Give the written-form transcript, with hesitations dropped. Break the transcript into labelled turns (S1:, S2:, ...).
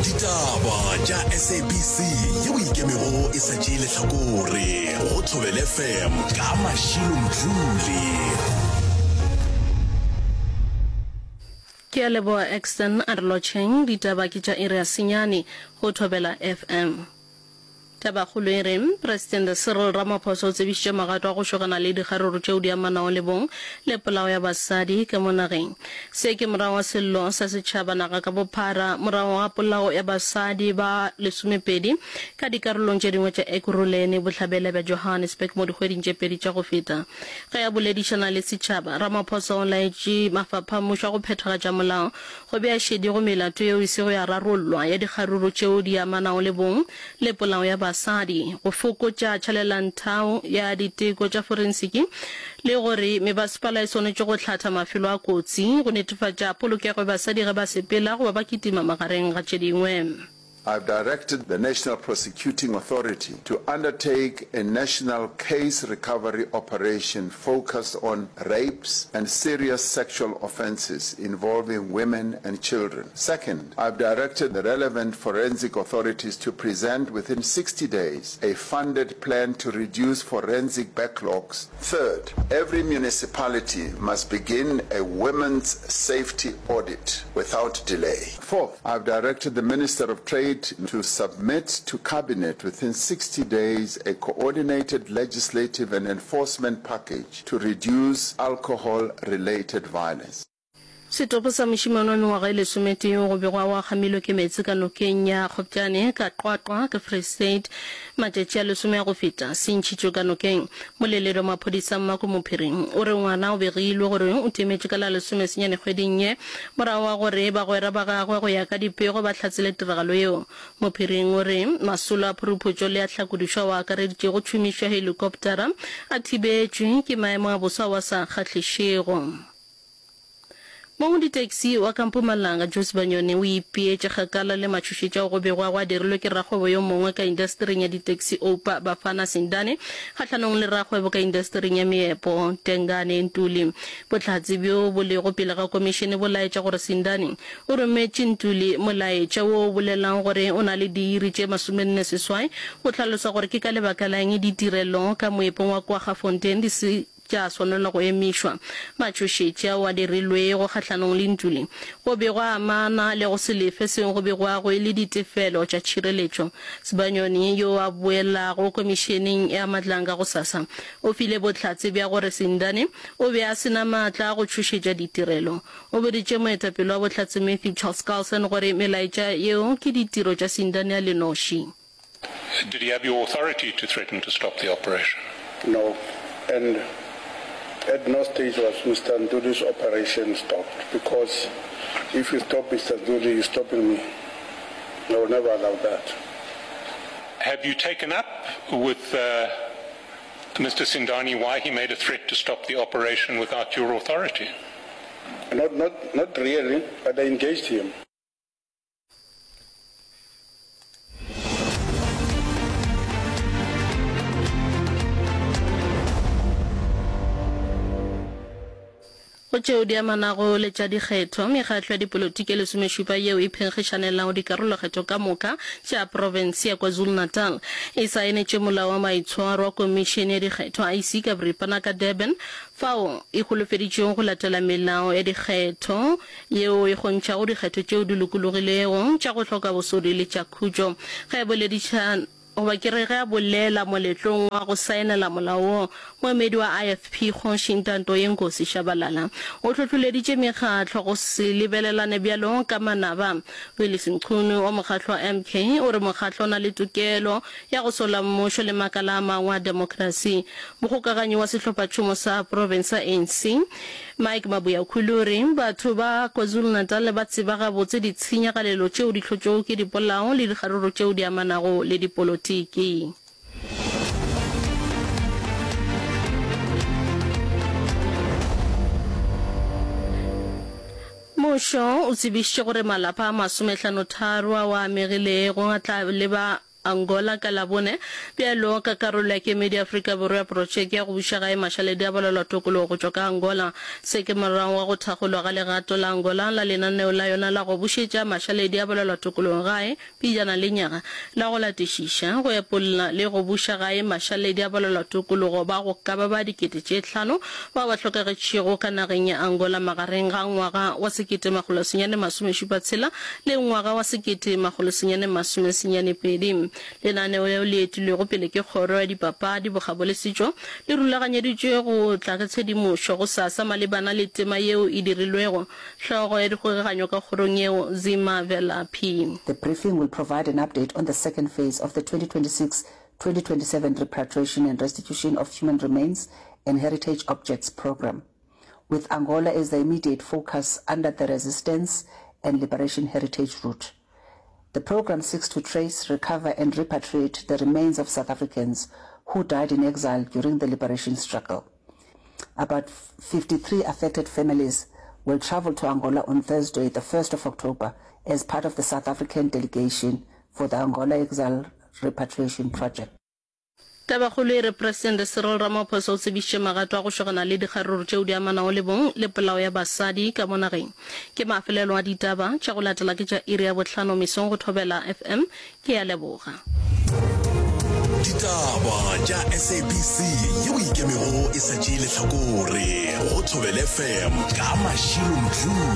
S1: Ditaba tša SABC yeo e ikemego e sa tšee lehlakore go Thobela FM ka Mashilo Mdluli.
S2: Ke a leboga Exton, a re lotšheng, ditaba ke tša iri ya senyane go Thobela FM. Tabakgolo e re, Presidente Cyril Ramaphosa o tsebišitše magato a go šogana le dikgaruru tšeo di amanago le bong le polao ya basadi ka mo nageng. Se ke morago ga sello sa setšhaba naga ka bophara morago ga polao ya basadi ba lesomepedi ka dikarolong tše dingwe tša Ekurhuleni, bohlabela bja Johannesburg mo dikgweding tše pedi tša go feta. Ge a boledišana le setšhaba, Ramaphosa o laetše mafapha a mmušo a go phethagatša molao Go bea šedi go melato yeo e sego ya rarollwa ya dikgaruru tšeo di amanago le bong le polao ya basadi, go fokotša tšhalelanthao ya diteko tša forensiki le gore mebasepala e swanetše go hlatha mafelo a kotsi go netefatša polokego ya basadi ge ba sepela goba ba kitima magareng ga tše dingwe.
S3: I've directed the National Prosecuting Authority to undertake a national case recovery operation focused on rapes and serious sexual offences involving women and children. Second, I've directed the relevant forensic authorities to present within 60 days a funded plan to reduce forensic backlogs. Third, every municipality must begin a women's safety audit without delay. Fourth, I've directed the Minister of Trade to submit to Cabinet within 60 days a coordinated legislative and enforcement package to reduce alcohol-related violence.
S2: Setopo sa mošemane wa mengwaga e lesometee yo go begwago a kgamilwe ke meetse ka nokeng ya Kgopjane ka Qwaqwa ka Free State matšatši a lesome a go feta se ntšhitšwe ka nokeng. Moleledi wa maphodisa Mmako Mophiring o re ngwana o begilwe gore o timetše ka la lesomesenyane kgweding ye morago ga gore bagwera ba gagwe go ya ka dipego ba hlatsele tiragalo yeo. Mophiring o re masolo a phuruputšo le a tlhakodišo ao a akareditšego tšhomišo ya helikoptara a thibetšwe ke maemo a boso ao a sa kgahlišego. Mong ditaxi wa ka Mpumalanga, Joe Sibanyoni, o ipeetše kgakala le matšhošetši ao go begwago a dirilwe ke rakgwebo yo mongwe ka indastering ya ditaxi Oupa Bafana Sindane kgahlanong le rakgwebo ka indastering ya meepo Tengane Ntuli. Bohlatse bjo bo lego pele ga komišene bo laetša gore Sindane o rometše Ntuli molaetša wo o bolelago gore o na le diiri tše masomenneseswai go hlalosa gore ke ka lebaka la eng ditirelo ka moepong wa Kwaggafontein di se tša swanelwa go emišwa. Matšhošetši ao a dirilwego kgahlanong le ntlo le, go be go amana le go se lefe seo go begwago e le ditefelo tša tšhireletšo. Sibanyoni, yo a boelago Komišeneng ya Matlanga gosasa, o file bohlatse bja gore Sindane o be a se na maatla a go tšhošetša ditirelo. O boditše moetapele wa bohlatse Matthew Charles Carlson gore melaetša yeo ke ditiro tša Sindane a le noši.
S4: Did he have your authority to threaten to stop the operation?
S5: No, and at no stage was Mister Ntuli's operation stopped because if you stop Mister Ntuli, you're stopping me. I will never allow that.
S4: Have you taken up with uh, Mr. Sindani why he made a threat to stop the operation without your authority?
S5: Not, not, not really, but I engaged him.
S2: Go tšeo di amanago le tša dikgetho, mekgatlo ya dipolotiki e lesomešupa yeo e phenkgišanelago dikarolokgetho ka moka tša profense ya KwaZulu-Natal e saenetše Molao wa Maitshwaro wa Komišene ya Dikgetho, IEC, ka boripana ka Durban, fao e holofeditšego go latela melao ya dikgetho yeo e kgontšhago dikgetho tšeo di lokologilego, tša go hloka bosodi le tša khutšo. Ge a boledišana goba ke re ge a bolela moletlong wa go saenela molao wo, moemedi wa IFP Kgoši Ntantoyenkosi Shabalala o hlohloleditše mekgatlo go se lebelelane bjalo ka manaba. Willies Mchunu wa mokgatlo wa MK o re mokgatlo o na le tokelo ya go sola mmušo le makala a mangwe a demokrasi. Mokgokaganyi wa sehlophatšhomo sa profense sa ANC, Mike Mabuyakhulu o re batho ba KwaZulu-Natal ba tseba gabotse ditshenyagalelo tšeo di hlotšwego ke dipolao le dikgaruru tšeo di amanago le dipolotiki. Mmušo o tsebišitše gore malapa a masomehlanotharo ao a amegilego a tla leba. Angola ka Labone bjalo ka karolo ya kemedi ya Afrika Borwa ya protšeke ya go buša gae mašaledi a balelwa tokologo go tšwa ka Angola. Se ke morago ga go thakgolwa ga legato la Angola la lenaneo la yona la go bušetša mašaledi a balelwa tokologo gae pejana lenyaga la go latišiša, go epolla le go buša gae mašaledi a balwela-tokologo ba go ka ba ba 5000 bao ba hlokagetšego ka nageng ya Angola magareng ga ngwaga wa 1976 le ngwaga wa 1992. Lenaneo leo le etilwego pele ke Kgoro ya Dipapadi, Bokgabo le Setšo le rulaganyeditšwe go tla ka tshedimošo gosasa malebana le tema yeo e dirilwego Hlogo ya dikgokaganyo ka kgorong yeo, Zima Velaphi.
S6: The briefing will provide an update on the second phase of the 2026-2027 Repatriation and Restitution of Human Remains and Heritage Objects Programme, with Angola as the immediate focus under the Resistance and Liberation Heritage Route. The programme seeks to trace, recover and repatriate the remains of South Africans who died in exile during the liberation struggle. About 53 affected families will travel to Angola on Thursday, the 1st of October, as part of the South African delegation for the Angola Exile Repatriation Project.
S2: Tabakgolo e re Presidente Cyril Ramaphosa o tsebišitše magato a go šogana le dikgaruru tšeo di amanago le bong le polao ya basadi ka mo nageng. Ke mafelelo a ditaba tša go latela ke tša iri ya bohlano mesong go Thobela FM. Ke a leboga.
S1: Ditaba tša SABC yeo e ikemego e sa tšee lehlakore go Thobela FM ka Mashilo Mdluli.